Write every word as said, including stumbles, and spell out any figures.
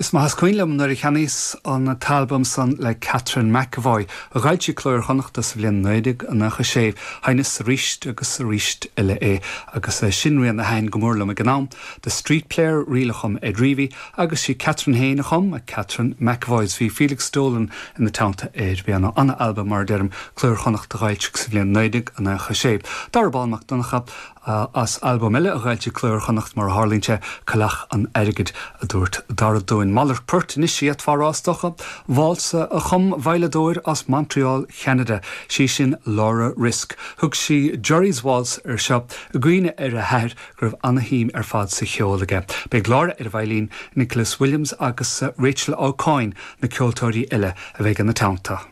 Is maith is cuimhin liom nuair a cheannaíos an t-albam san le Catherine McEvoy a d'fhoilsigh Cló Iar-Chonnachta sa bhliain naoi déag nócha sé sheinneas arís agus arís eile é agus sin rian a thaitin go mór liom ag an am. The Street Player ríl a chum Ed Reavy agus sí Catherine féin a chum a Catherine McEvoy bhí Felix Dolan ina teannta ar bhí an albam mar a deirim Cló Iar-Chonnachta a d'fhoilsigh sa bhliain naoi déag nócha sé. Dara Bán Mac Donncha as albam eile a d'fhoilsigh Cló Iar-Chonnacht mar a tharlaíonn sé Coileach an Airgid a dúirt Dara dúinn malairt poirt anois iad fárástacha, válsa a chum veidhleadóir as Montreal Cheanada, sí sin Laura Risk. Thug sí Jerry's Waltz ar seo i gcuimhne ar a hathair go raibh an-shuim ar fad sa cheol aige. Beidh Laura ar veidhlín Nicholas Williams agus Rachel O'Coin na ceoltóirí eile a bheidh ina teannta.